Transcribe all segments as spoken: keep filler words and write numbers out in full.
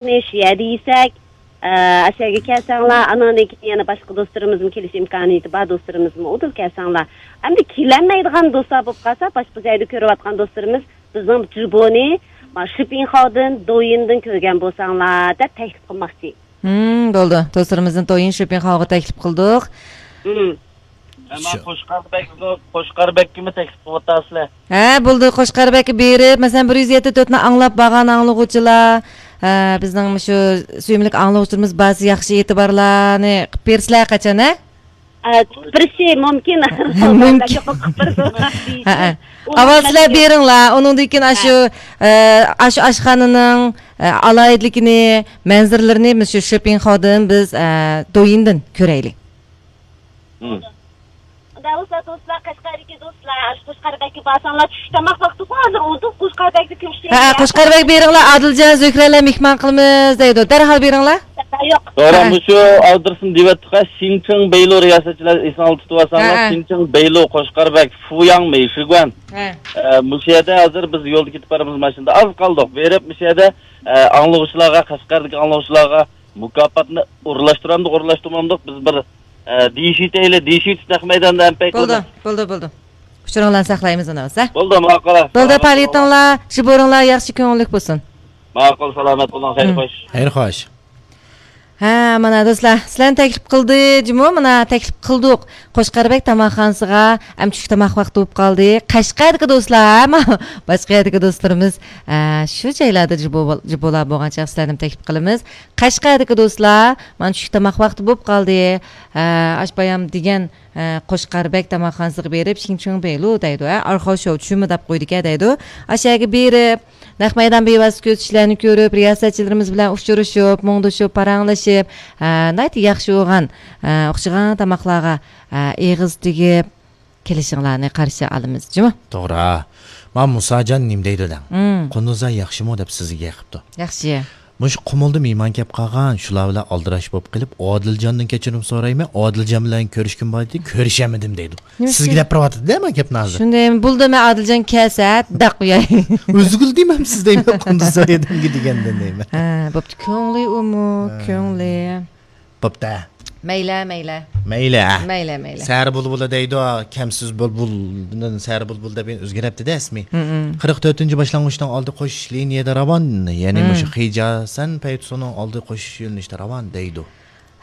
شۇ يەردە يېسەك، ئە، ئاشۇ يەرگە كەلسەڭلار، ئاناندىن كېيىن يەنە باشقا دوستلىرىمىزمۇ كېلىش ئىمكانىيىتى بار، دوستلىرىمىزمۇ ئۇدۇل كەلسەڭلار. ئەمدى كېلەلمەيدىغان دوستلار بولۇپ قالسا، باشقا جايدا كۆرۈۋاتقان دوستلىرىمىز بىزنىڭ جۇبونى، ما، شىپىنخاۋدىن، دويىندىن كۆرگەن بولساڭلار، دەپ تەكلىپ قىلماقچى. ھىم، بولدى. دوستلىرىمىزنى دويىن شىپىنخاۋغا تەكلىپ قىلدۇق. ھىم. ئەمما شۇ قوشقار بەگ، قوشقار بەگكىمۇ تەكلىپ قىلىۋاتاسىلەر؟ ھە، بولدى. قوشقار بەگكە بېرىپ، مەسىلەن، بىر يۈز يەتتە تۆتنى ئاڭلاپ بارغان ئاڭلىغۇچىلار، ھە، بىزنىڭ مۇشۇ سۆيۈملۈك ئاڭلىغۇچىلىرىمىز بارسا ياخشى ئېتىبارلارنى قىلىپ بېرىسىلەر قاچان، ھە؟ ئە، بېرىشى مۇمكىن. مۇمكىن. بەلكى قورقۇپ بېرىدۇ. ھە، ھە. ئۇ ئاۋۋال سىلەر بېرىڭلار، ئۇنىڭدىن كېيىن ھە. ئاشۇ، ئە، ئاشۇ ئاشخانىنىڭ، ئە، ئالاھىدىلىكىنى، مەنزىرىلىرىنى مۇشۇ شىپىنخاۋدىن بىز، ئە، دويىندىن كۆرەيلى. ھىم. ئۇنداق بولسا دوستلار، قەشقەردىكى دوستلار، ئاشۇ قوشقار بەگكە بارساڭلار، چۈشلۈك تاماق ۋاقتىغۇ ھازىر ئۇدۇل قوشقار بەگدە كۆرۈشەيلى. ھە، قوشقار بەگ بېرىڭلار، ئادىلجان، زۆھرەلەر مېھمان قىلىمىز دەيدۇ، دەرھال بېرىڭلار. ياق. توغرا، ھە. مۇشۇ ئادرېسنى دېۋەتتۇق، شىنچىڭ بەيلۇ رىياسەتچىلەر ئېسىڭلاردا تۇتۇۋالساڭلار، ھە، ھە. شىنچىڭ بەيلۇ، قوشقار بەگ، فۇياڭ مېيشىگۇەن. ھە. ئە، مۇشۇ يەردە ھازىر بىز يولدا كېتىپ بارىمىز، ماشىنىدا ئاز قالدۇق. بېرىپ مۇشۇ يەردە، ئە، ئاڭلىغۇچىلارغا، قەشقەردىكى ئاڭلىغۇچىلارغا مۇكاپاتنى ئورۇنلاشتۇرامدۇق، ئورۇنلاشتۇرمامدۇق، بىز بىر، ئە، دېيىشىۋېتەيلى، دېيىشىۋېتىش نەق مەيداندا ھەم پەيت بولدى، بولدى. بولدى، بولدى. ئۇچۇرۇڭلارنى ساقلايمىز ئۇنىڭ بولسا. بولدى، ماقۇل. بولدى، سالامەت پائالىيىتىڭلار، شىبورۇڭلار ياخشى، كۆڭۈللۈك بولسۇن. ماقۇل، سالامەت بولۇڭ، خەير، ھىم. خوش. خەير، خوش. ھە، مانا دوستلار، سىلەرنى تەكلىپ قىلدى جۇمۇ، مانا تەكلىپ قىلدۇق. قوشقار بەگ تاماقخانىسىغا، ئەم چۈشلۈك تاماق ۋاقتى بولۇپ قالدى. قەشقەردىكى دوستلار، ھە، ما-، باشقا يەردىكى دوستلىرىمىز، ئە، شۇ جايلاردا جۇبو-، جۇبولار بولغان چاغ سىلەرنى تەكلىپ قىلىمىز. قەشقەردىكى دوستلار، مانا چۈشلۈك تاماق ۋاقتى بولۇپ قالدى. ئە، ئاش بايام دېگەن، ئە، قوشقار بەگ تاماقخانىسىغا بېرىپ، شىڭچىڭ بېيلۇ دەيدۇ، ھە، ئارخاۋ شوۋ چۈشۈمە دەپ قويدىكەن دەيدۇ. ئاشۇ يەرگە بېرىپ، نەق مەيدان بىۋاسىتە كۆرسىتىشلەرنى كۆرۈپ، رىياسەتچىلىرىمىز بىلەن ئۇچرىشىپ، مۇڭدىشىپ، پاراڭلىشىپ، ئە، ناھايىتى ياخشى بولغان، ئە، ئوخشىغان تاماقلارغا، ئە، ئېغىز تېگىپ، كېلىشىڭلارنى قارشى ئالىمىز، جۇمۇ. توغرا. ما مۇساجان نېمە دەيدۇ دەڭ؟ ھىم. قۇندۇزا ياخشىمۇ دەپ سىزگە يېقىپتۇ. ياخشى. مۇشۇ قۇمۇلدا مېھمان كەپ قالغان، شۇلار بىلەن ئالدىراش بولۇپ قېلىپ، ئادىلجاندىن كەچۈرۈم سورايمەن، ئادىلجان بىلەن كۆرۈشكۈم بار ئىدى، كۆرۈشەلمىدىم دەيدۇ. نېمە سىزگە ئۈچۈن؟ دەپ بېرىۋاتىدۇ-دە مانا گەپنى ھازىر. شۇنداق، بولدى، مەن ئادىلجان كەلسە، دەق ئۇياي. ئۆزىگىلا دېمەم سىز دەيمەن، قۇندۇزا ئادەمگە دېگەندىن دەيمەن. ھە، بوپتۇ، كۆڭلى ئۇمۇ، ھە. كۆڭلى. بوپتۇ. مەيلى، مەيلى. مەيلى، ھە. مەيلى، مەيلى. سەھەر بۇلبۇلى دەيدۇ، كەمسىز بۇلبۇلدىن سەھەر بۇلبۇلى دەپ ئۆزگىرەپتىدە ئىسمى. ھىم، ھىم. قىرىق تۆتىنچى باشلانغۇچنىڭ ئالدى قوشۇش لىنىيەدە راۋان، يەنى ھىم. مۇشۇ خىجاسەن پەيتۇسىنىڭ ئالدى قوشۇش يۆنىلىشىدە راۋان دەيدۇ.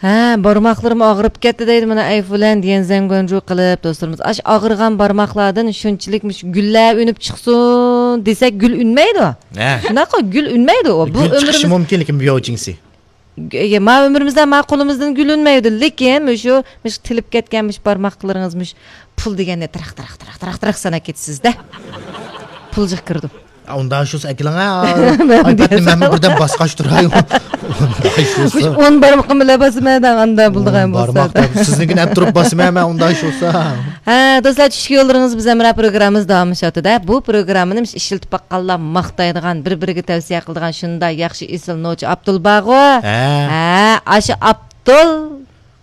ھە، بارماقلىرىم ئاغرىپ كەتتى دەيدۇ مانا ئەيفۇلەن دېگەن زەڭگۇەنجۇ قىلىپ دوستلىرىمىز. ئاش ئاغرىغان بارماقلاردىن شۇنچىلىك مۇشۇ گۈللەر ئۈنۈپ چىقسۇن دېسەك، گۈل ئۈنمەيدۇ. ھە. شۇنداققۇ، گۈل ئۈنمەيدۇ. ئۇ، بۇ گۈل چىقىشى ئۆمرىمىز مۇمكىن، لېكىن بياۋ جىڭسى. گۈ-، ما ئۆمرىمىزدە ما قولىمىزدىن گۈل ئۈنمەيدۇ. لېكىن مۇشۇ، مۇشۇ تىلىپ كەتكەن مۇشۇ بارماقلىرىڭىز مۇشۇ پۇل دېگەننى تىراق، تىراق، تىراق، تىراق، تىراق ساناپ كېتىسىز-دە. پۇل جىق كىرىدۇ. ئا، ئۇنداق شۇسا ئەكېلىڭ، ھە. ئايپادنى مەنمۇ بىردەم باسقاچ تۇراي. ئۇنداق شۇسا. مۇشۇ ئون بارمىقىم بىلەن باسىمەن دەڭ، ئاندا بولىدىغان بولسا. بارماق دەپ، سىزنىڭكىنى ئەپ تۇرۇپ باسىمەن مەن ئۇنداق شۇسا. ھە، دوستلار، چۈشكى يوللىرىڭىز بىز ھەمراھ پروگراممىمىز داۋاملىشىۋاتىدۇ. بۇ پروگراممىنى ئىشلىتىپ باققانلار ماختايدىغان، بىر-بىرىگە تەۋسىيە قىلىدىغان شۇنداق ياخشى ئېسىل نوچى ئابدۇل بارغۇ. ھە. ھە، ئاشۇ ئابدۇل.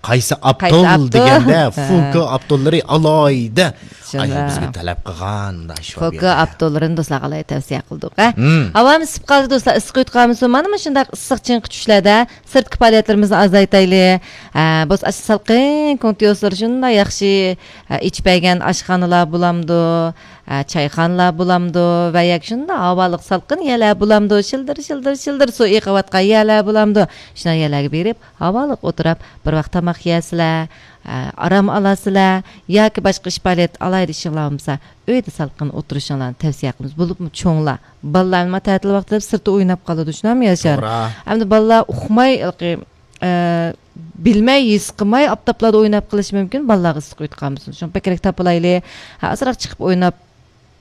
قايسى قايسى ئابدۇل ئابدۇل؟ دېگەندە، ھە. فۇكو ئابدۇللىرى ئالاھىدە. شۇنداق. ئاشۇ بىزگە تەلەپ قىلغان، مۇنداق شۇ فۇكو ئابدۇللىرىنى دوستلارغا ئالاھىدە تەۋسىيە قىلدۇق، ھە. ھىم. ھاۋامىز ئىسسىپ قالدى، دوستلار، ئىسسىق ئۆتۈپ قالمىسۇن. مانا مۇشۇنداق ئىسسىق چىڭقى چۈشلەردە سىرتقى پائالىيەتلىرىمىزنى ئازايتايلى. ھە، بولسا ئاشۇ سالقىن كوڭتيوسلار شۇنداق ياخشى، ھە، ئېچىپ بەرگەن ئاشخانىلار بولامدۇ؟ ئە، چايخانىلار بولامدۇ ۋە ياكى شۇنداق ھاۋالىق سالقىن يەرلەر بولامدۇ، شىلدىر، شىلدىر، شىلدىر سۇ ئېقىۋاتقان يەرلەر بولامدۇ، شۇنداق يەرلەرگە بېرىپ، ھاۋالىق ئولتۇرۇپ، بىر ۋاق تاماق يەرسىلەر، ئە، ئارام ئالارسىلەر ياكى باشقا ئىش پائالىيەت، ئالاھىدە ئىشىڭلار بولمىسا، ئۆيدە سالقىن ئولتۇرۇشۇڭلارنى تەۋسىيە قىلىمىز. بولۇپمۇ چوڭلار، بالىلار نېمە تەتىل ۋاقتىدا سىرتتا ئويناپ قالىدۇ، شۇنداقمۇ ياشار؟ توغرا. ئەمدى بالىلار ئۇقماي، ھېلىقى ئە، بىلمەي، ھېس قىلماي ئاپتاپلاردا ئويناپ قېلىشى مۇمكىن، بالىلارغا ئىسسىق ئۆتۈپ قالمىسۇن. شۇڭا بەكرەك تاپىلايلى. ھە، ئازراق چىقىپ ئويناپ،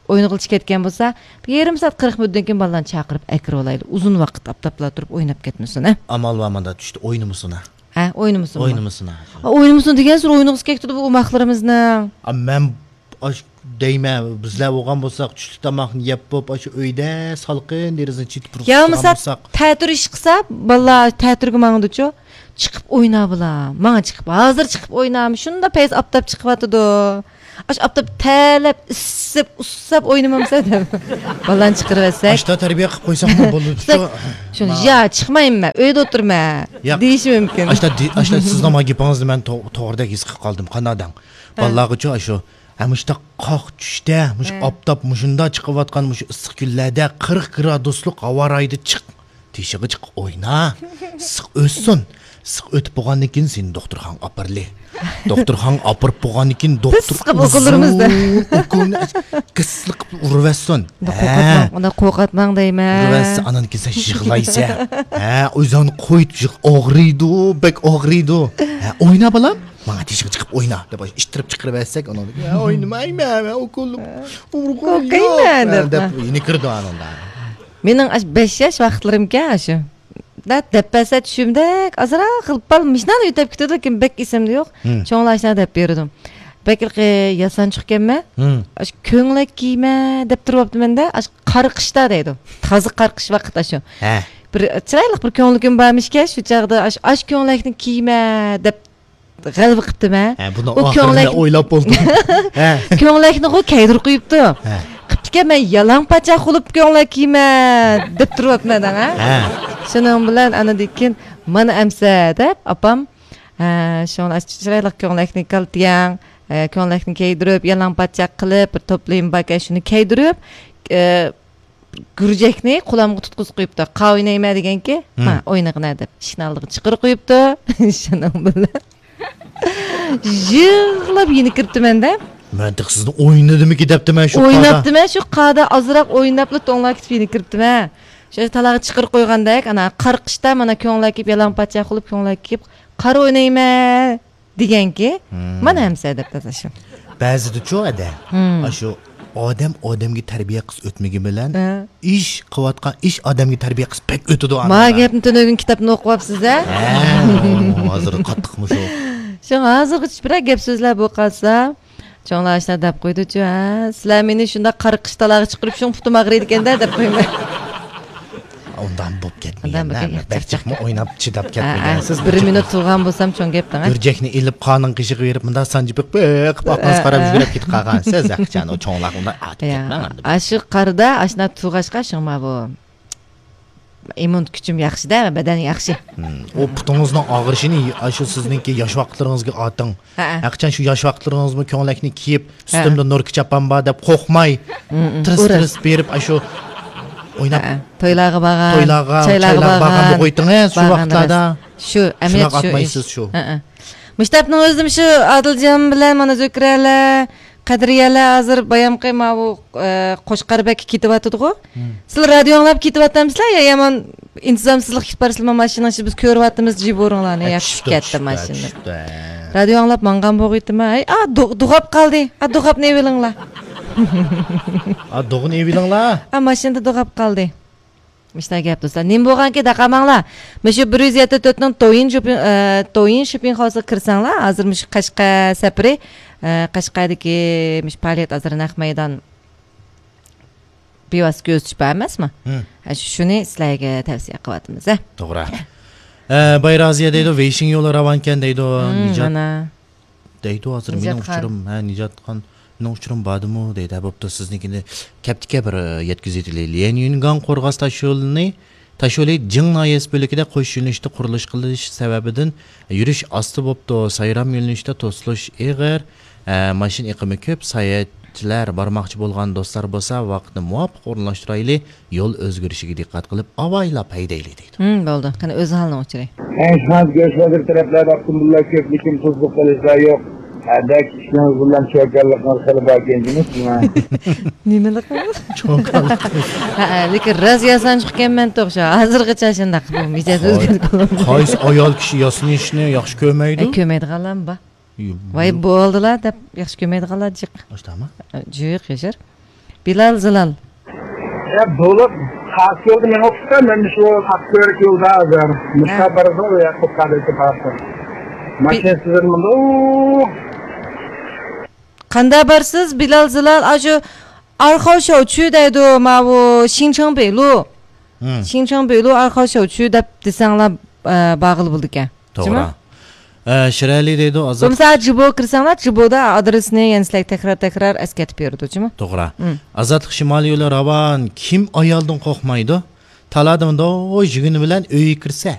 ئوينىغىلى كەتكەن بولسا، بىر يېرىم سائەت، قىرىق مىنۇتتىن كېيىن بالىلارنى چاقىرىپ ئەكىرىۋالايلى. ئۇزۇن ۋاقىت ئاپتاپلاردا تۇرۇپ ئويناپ كەتمىسۇن، ھە. ئامال بار ماندا، چۈشتە ئوينىمىسۇن، ھە. ھە، ئوينىمىسۇنمۇ؟ ئوينىمىسۇن، ھە. ھە، ئوينىمىسۇن دېگەنسېرى ئوينىغۇسى كەپ تۇرىدۇ بۇ ئوماقلىرىمىزنىڭ. ئا، مەن ئاش دەيمەن، بىزلەر بولغان بولساق، چۈشلۈك تاماقنى يەپ بوپ، ئاشۇ ئۆيدە سالقىن دېرىزىنى چېتىپ رۇخسەت يا بولمىسا قىلالمىساق. تەتۈر ئىش قىلسا، بالىلار تەتۈرگە ماڭىدۇچۇ. چىقىپ ئوينا بالا، ماڭا چىقىپ، ھازىر چىقىپ ئوينا، شۇنداق پەيز ئاپتاپ چىقىۋاتىدۇ. ئاشۇ ئاپتاپ تەرلەپ، ئىسسىپ، ئۇسساپ ئوينىمامسەن دەپ. بالىلارنى چىقىرىۋەتسەك. ئاشتا تەربىيە قىلىپ قويساقمۇ بولىدۇ. شۇ، يا، چىقمايمەن مەن، ئۆيدە ئولتۇرىمەن، ياق، دېيىشى مۇمكىن. ئاشتا، ئاشتا سىزنىڭ ما گېپىڭىزنى مەن تو-، توغرىدەك ھېس قىلىپ قالدىم. قانداق دەڭ؟ ھە. بالىلارغىچۇ ئاشۇ، ھە، مۇشۇنداق قاق چۈشتە، مۇشۇ، ھە، ئاپتاپ مۇشۇنداق چىقىۋاتقان مۇشۇ ئىسسىق كۈنلەردە قىرىق گرادۇسلۇق ھاۋا رايىدا چىق. تېشىغا چىقىپ ئوينا. ئىسسىق ئۆتسۇن. ئىسسىق ئۆتۈپ بولغاندىن كېيىن سېنى دوختۇرخانىغا ئاپىرىلى. دوختۇرخانىغا ئاپىرىپ بولغاندىن كېيىن دوختۇر ئىسسىققا ئۇكوللىرىمىز دە. ئۇزۇن ئۇكولنى گىسلىق قىلىپ ئۇرۇۋەتسۇن. ئۇنداق ھە. قورقۇتماڭ، ئۇنداق قورقۇتماڭ دەيمەن. ئۇرۇۋەتسە، ئانان كېيىن سەن يىغلايسەن. ھە، ئۆزۈڭنى قويۇپ يىغ-، ئاغرىيدۇ، بەك ئاغرىيدۇ. ھە، ئوينا بالام، ماڭا تېشىغا چىقىپ ئوينا دەپ ئىتتىرىپ چىقىرىۋەتسەك، ئۇنىڭدىن، يا، ئوينىمايمەن، مەن ئۇكولنى ئۇرغۇم يوق، قورقايمەن دەپ. دەپ يېنىكىرىدۇ ئانىڭدا. مېنىڭ ئاشۇ بەش ياش ۋاقىتلىرىمكەن ئاشۇ. دەپ، دەپ بەرسە چۈشۈمدەك ئازراق غىلپال مىشنان ئۆتۈپ كېتىدۇ، لېكىن بەك ئېسىمدە يوق. ھىم. چوڭلار ئاشۇنداق دەپ بېرىدۇ. بەك ھېلىقى ياسانچۇقكەنمەن. ھىم. ئاشۇ كۆڭلەك كىيمە دەپ تۇرۇۋاپتىمەن-دە، ئاشۇ قارىقىشتا دەيدۇ. تازا قارىقىش ۋاقىت ئاشۇ. ھە. بىر چىرايلىق بىر كۆڭلى كۈن بارمىشكەن، شۇ چاغدا ئاشۇ، ئاشۇ كۆڭلەكنى كىيمە دەپ غەلۋە قىپتىمەن. ھە، بۇنى ئۇ ئاخىرىدا كۆڭلەك ئويلاپ بولدۇم. ھە. كۆڭلەكنىغۇ كەيدۈرۈپ قويۇپتۇ. ھە. قىپتىكەن، مەن يالاڭ پاچاق بولۇپ كۆڭلەك كىيمە دەپ تۇرۇۋاپمەن دەڭ، ھە؟ ھە. شۇنىڭ بىلەن ئانىدىن كېيىن، مانا ئەمسە دەپ ئاپام، ھە، شۇڭا چىرايلىق كۆڭلەكنى كالتىياڭ، ھە، كۆڭلەكنى كىيدۈرۈپ، يالاڭ پاچاق قىلىپ، بىر توپلىيىم باركەن، شۇنى كىيدۈرۈپ، ئە، گۈرجەكنى قولۇمغا تۇتقۇزۇپ قويۇپتۇ. قاۋا ئوينايمەن دېگەنكى، ھىم. ما، ئوينىغىنە دەپ ئىشىكنى ئالدىغا چىقىرىپ قويۇپتۇ. شۇنىڭ بىلەن يىغلاپ يېنىكىرىپتىمەن-دە. مەن تېخى سىزنى ئوينىدىمىكى دەپتىمەن شۇ قادا. ئويناپتىمەن شۇ قادا، ئازراق ئويناپلا توڭلاپ كېتىپ يېنىكىرىپتىمەن. شۇ تالاغا چىقىرىپ قويغاندەك، ئانا قارىقىشتا مانا كۆڭلەك كىيىپ، يالاڭ پاچاق بولۇپ كۆڭلەك كىيىپ، قارا ئوينايمەن دېگەنكى، ھىم. مانا ئەمسە دەپ تازا شۇ. بەزىدىچۇ ئەدە، ھىم. ئاشۇ ئادەم ئادەمگە تەربىيە قىلسا ئۆتمىگىنى بىلەن، ھە. ئىش قىلىۋاتقان ئىش ئادەمگە تەربىيە قىلسا بەك ئۆتىدۇ. ما ئاندىن گەپنى تۈنۈگۈن كىتابتىن ئوقۇۋاپسىز-ھە؟ ھە، ھازىر قاتتىقمۇ شۇ. شۇڭا ھازىرغىچە بىرەر گەپ سۆزلەر بولۇپ قالسا، چوڭلار ئاشۇنداق دەپ قويدىچۇ، ھە، سىلەر مېنى شۇنداق قارىقىش تالاغا چىقىرىپ شۇڭا پۇتۇم ئاغرىيدىكەن-دە دەپ قويىمەن. ئۇنداق بولۇپ كەتمىگەن، ئۇنداق بولۇپ كەتمىگەن. بەك جىقمۇ ئويناپ چىداپ ھە، ھە. كەتمىگەنسىز. بىر مىنۇت تۇرغان بولسام چوڭ گەپ دەڭ، ھە. گۈرجەكنى ئېلىپ قانىڭ قېشىغا بېرىپ مۇنداق سانجىپ بېقىپ، بېقىپ ئاقماس ھە. قاراپ يۈگۈرۈپ كېتىپ قالغانسىز، ھەقىچان ئۇ چوڭلار ئۇنداق ئاتىپ يا، كەتمەڭ ئەمدى. ئاشۇ قارىدا ئاشۇنداق تۇرغاچقا شۇڭا بۇ ئىممۇن كۈچۈم ياخشى-دە، بەدەن ياخشى. ھىم، ئۇ پۇتىڭىزنىڭ ئاغرىشىنى ئاشۇ سىزنىڭكى ياش ۋاقىتلىرىڭىزگە ئاتىڭ. ھەئە. ھەقىچان شۇ ياش ۋاقىتلىرىڭىزمۇ كۆڭلەكنى كىيىپ، ھە. ئۈستۈمدە نۇركا چاپان بار دەپ قورقماي، ھىم، ھىم. تىرىس-تىرىس بېرىپ، ئاشۇ ئويناپ. ھەئە. تويلارغا بارغان، تويلارغا، چايلارغا چايلارغا بارغان بارغان. بولغايتىڭىز شۇ بارغان ۋاقىتلاردا. راست. شۇ ئەمەلىيەت شۇنداق شۇ ئاتمايسىز ئىش. شۇ. ھەئە. مۇشۇ تاپنىڭ ئۆزىدىمۇ شۇ ئادىلجان بىلەن مانا زۆكرەلەر، قەدرىيەلەر ھازىر بايامقى ماۋۇ، ئە، قوچقاربەگكە كېتىۋاتىدىغۇ. ھىم. سىلەر رادىيو ئاڭلاپ كېتىۋاتامسىلەر يا يامان ئىنتىزامسىزلىق كېتىپ بارسىلەر، ماشىنىنىڭ ئىچىدە بىز كۆرۈۋاتىمىز، جىبۇرۇڭلارنى، ھە، يا چۈشۈپ كەتتى ماشىنا. چۈشتى. رادىيو ئاڭلاپ ماڭغان بولغىيتتىم، ھەي، ئا، دو-، دوغاپ قالدى، ئا، دوغاپنى ئېۋىلىڭلار. ئا، دوغىنى ئېۋىلىڭلار. ئا، ماشىنىدا دوغاپ قالدى. مۇشۇنداق گەپ دوستلار. نېمە بولغانكى دەقالماڭلار. مۇشۇ بىر يۈز يەتتە تۆتنىڭ دويىن شوپىڭ، ئە، دويىن شوپىڭ خاۋسىغا كىرسەڭلار، ھازىر مۇشۇ قەشقەر سەپىرى، ئە، قەشقەردىكى مۇشۇ پائالىيەت ھازىر نەق مەيدان بىۋاسىتە كۆزىتىش بار ئەمەسمۇ؟ ھىم. ھە، شۇ-، شۇنى سىلەرگە تەۋسىيە قىلىۋاتىمىز، ھە. توغرا. ئە، بايرازىيە دەيدۇ، ۋېيشىڭ يولى راۋانكەن دەيدۇ. ھىم، نىجات مانا. دەيدۇ، ھازىر مېنىڭ نىجاتخان. ئۇچۇرۇم، ھە، نىجاتخان، مېنىڭ ئۇچۇرۇم باردىمۇ دەيدۇ. ھە، بوپتۇ، سىزنىڭكىنى كەپتىكە بىر، ئە، يەتكۈزۈۋېتەيلى. ليەن يۈنگاڭ قورغاس تاشيولىنى، تاشيولى جىڭ ناھىيەسى بۆلىكىدە قوش يۆنىلىشتە قۇرۇلۇش قىلىش سەۋەبىدىن يۈرۈش ئاستا بوپتۇ. سايرام يۆنىلىشتە توسۇلۇش ئېغىر، ئە، ماشىنا ئېقىمى كۆپ، ساياھەتچىلەر بارماقچى بولغان دوستلار بولسا ۋاقىتنى مۇۋاپىق ئورۇنلاشتۇرايلى. يول ئۆزگىرىشىگە دىققەت قىلىپ، ئاۋايلاپ ھەيدەيلى دەيدۇ. ھىم، بولدى. قېنى، ئۆز ھالىنىڭ ئۇچۇرى. ئەنشىخان گۆش بازىرى تەرەپلەردە ئاپتوموبىللار كۆپلۈكى، تۇزلۇق قىلىشلار يوق. ھەدە كىشىنىڭ بىلەن چوكانلىقىڭىز خېلى باركەن جۇمۇ سىزنىڭ. نېمىلىك؟ چوكانلىق. ھە، لېكىن راست ياسانچۇق ئىكەنمەن توغرا. ھازىرغىچە شۇنداق بۇ مىجەز ئۆزگەرتىپ بولمىدى. قايسى ئايال كىشى ياسىنىشنى ياخشى كۆرمەيدۇ؟ ئە، كۆرمەيدىغانلارمۇ بار. يو-، ۋاي، بولدىلا دەپ ياخشى كۆرمەيدىغانلار جىق. ئاشتاما؟ جىق ياشار. بىلال زىلال. يا، بولۇپ، قارشى يولدا مېڭىپ چىقسا، مەن شۇ قارشى يولدا ھازىر. ھە. مۇشۇ بارىدۇ، يا، قوپقاندىكى پارتى. بى-، ماشىنا سىزىلمىدۇ. قاندا بارسىز، بىلال زىلال؟ ئاشۇ ئارخاۋ شاۋچۈ دەيدۇ، ماۋۇ شىڭچىڭ بېيلۇ. ھىم. شىڭچىڭ بېيلۇ ئارخاۋ شاۋچۈ دەپ دېسەڭلار، ئە، بارغىلى بولىدىكەن. توغرا. جۇمۇ؟ ئە، شىرئەلى دەيدۇ، ئازاد. بولمىسا جىبو كىرسەڭلار، جىبودا ئادرېسنى يەنە سىلەرگە تەكرار تەكرار ئەسكەرتىپ بېرىدۇ، جۇمۇ؟ توغرا. مم. ئازادلىق شىمالىي يولى راۋان، كىم ئايالدىن قورقمايدۇ؟ تالادىمدا يۈگىنى بىلەن ئۆيگە كىرسە،